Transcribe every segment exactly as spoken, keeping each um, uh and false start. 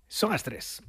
Son as tres.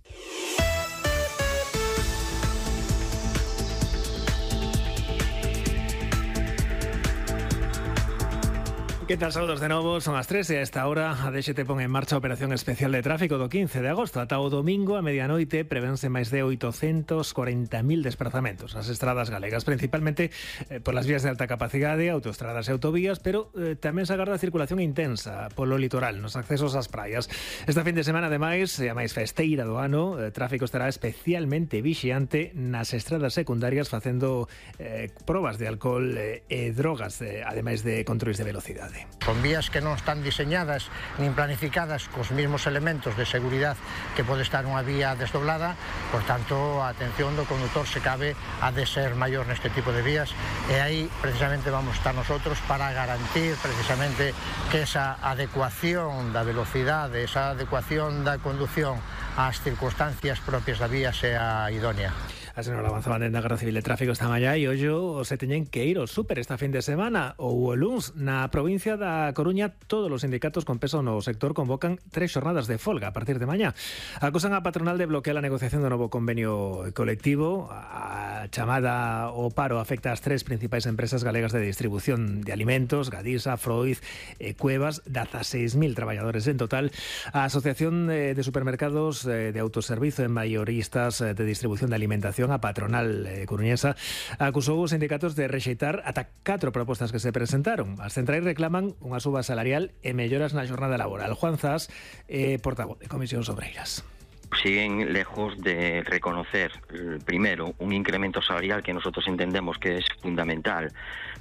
Que tal, saúdos de novo, son as tres e a esta hora a D X T pon en marcha a operación especial de tráfico do quince de agosto. Ata o domingo a medianoite prevense máis de oitocentos corenta mil desplazamentos nas estradas galegas, principalmente eh, por las vías de alta capacidade, autoestradas e autovías, pero eh, tamén se agarda circulación intensa polo litoral, nos accesos ás praias. Esta fin de semana, ademais, e a máis festeira do ano, o tráfico estará especialmente vixiante nas estradas secundarias facendo eh, probas de alcohol eh, e drogas, eh, ademais de controles de velocidade. Con vías que non están diseñadas nin planificadas cos mesmos elementos de seguridade que pode estar unha vía desdoblada, por tanto, a atención do condutor, se cabe, ha de ser maior neste tipo de vías, e aí precisamente vamos estar nosotros para garantir precisamente que esa adecuación da velocidade, esa adecuación da condución ás circunstancias propias da vía sea idónea. A señora avanzaba dentro da Garda Civil de Tráfico esta mañá e ollo se teñen que ir ao súper esta fin de semana ou o luns. Na provincia da Coruña, todos os sindicatos con peso no sector convocan tres xornadas de folga a partir de mañá. Acusan a patronal de bloquear a negociación do novo convenio colectivo. A chamada ao paro afecta ás tres principais empresas galegas de distribución de alimentos, Gadisa, Freud e Cuevas, dezaseis mil traballadores en total. A Asociación de Supermercados de Autoservizo e Mayoristas de Distribución de Alimentación, a patronal eh, coruñesa, acusou os sindicatos de rexeitar ata catro propostas que se presentaron. As centrais reclaman unha suba salarial e melloras na xornada laboral. Juan Zas, eh, portavoz de Comisións Obreiras. Siguen lejos de reconocer, primero, un incremento salarial que nosotros entendemos que es fundamental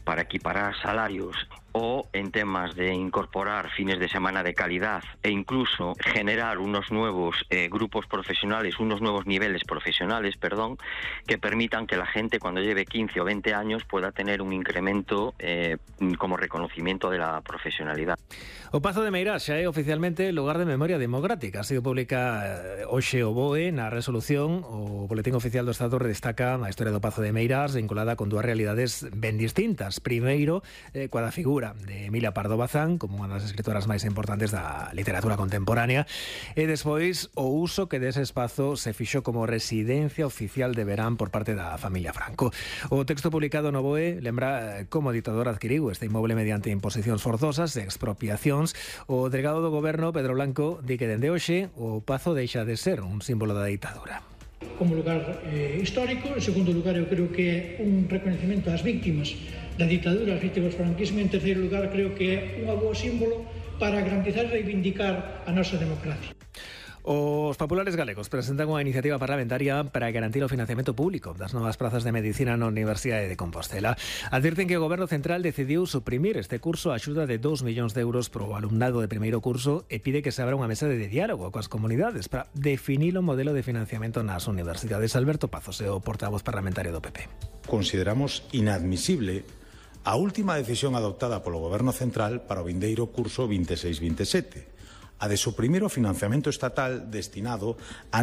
para equiparar salarios, o en temas de incorporar fines de semana de calidad e incluso generar unos nuevos eh, grupos profesionales, unos nuevos niveles profesionales, perdón, que permitan que la gente cuando lleve quince o veinte años pueda tener un incremento eh, como reconocimiento de la profesionalidad. O Pazo de Meirás xa é oficialmente lugar de memoria democrática. Ha sido pública eh, hoxe o B O E na resolución. O Boletín Oficial do Estado redestaca a historia do Pazo de Meirás vinculada con dúas realidades ben distintas. Primeiro, eh, coa da figura de Emilia Pardo Bazán como unha das escritoras máis importantes da literatura contemporánea, e despois o uso que dese espazo se fixo como residencia oficial de verán por parte da familia Franco. O texto publicado no B O E lembra como o ditador adquiriu este inmoble mediante imposicións forzosas e expropiacións. O delegado do goberno, Pedro Blanco, di que dende hoxe o Pazo deixa de ser un símbolo da ditadura. Como lugar eh, histórico, en segundo lugar, eu creo que é un reconhecimento ás víctimas da ditadura, ás víctimas do franquismo, en terceiro lugar, creo que é un bo símbolo para garantizar e reivindicar a nosa democracia. Os populares galegos presentan unha iniciativa parlamentaria para garantir o financiamento público das novas prazas de medicina na Universidade de Compostela. Advirten que o Goberno Central decidiu suprimir este curso a axuda de dous millóns de euros pro alumnado de primeiro curso e pide que se abra unha mesa de diálogo coas comunidades para definir o modelo de financiamento nas universidades. Alberto Pazos é o portavoz parlamentario do P P. Consideramos inadmisible a última decisión adoptada polo Goberno Central para o vindeiro curso vinte e seis vinte e sete, a de suprimir o financiamento estatal destinado a